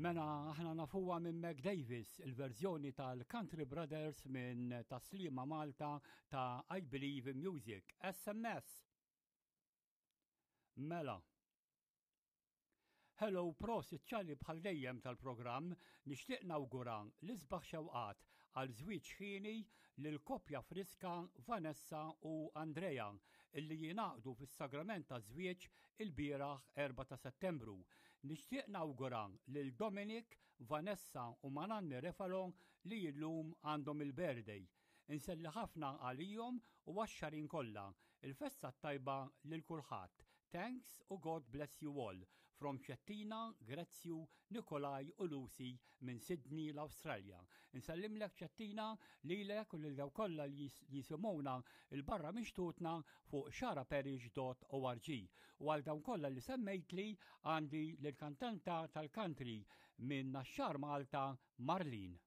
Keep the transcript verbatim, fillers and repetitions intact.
Mela aħna nafuha minn Mac Davis, il-verżjoni tal-Country Brothers minn Tas-Sliema Malta ta' I Believe in Music, S M S. Mela. Hello, prosit Charlie bħal dejjem tal-programm, nixtieq nawgura l-isbaħ xewqat għal żwieġ ħieni lil koppja friska Vanessa u Andrea illi jingħaqdu fis-sagrament ta' żwieġ il-bieraħ erbgħa ta' Settembru. Nixtieq nawgura lil Dominic, Vanessa u Mananni Refalo li illum għandhom il-birthday. Inselli ħafna għalihom u għax-xarin kollha. Il-festa tajba lil kulħadd. Thanks u God bless you all. From Ċettina, Grezzju, Nikolaj u Lucy minn Sydney, l-Australia. Insellimlek, Ċettina, lilek u lil dawk kollha li jisimgħuna 'l barra minn xtutna fuq xagħraparish punt org. U għal dawn kollha li semmejtli għandi l-kantanta tal-country minn Naxxar Malta, Marlene.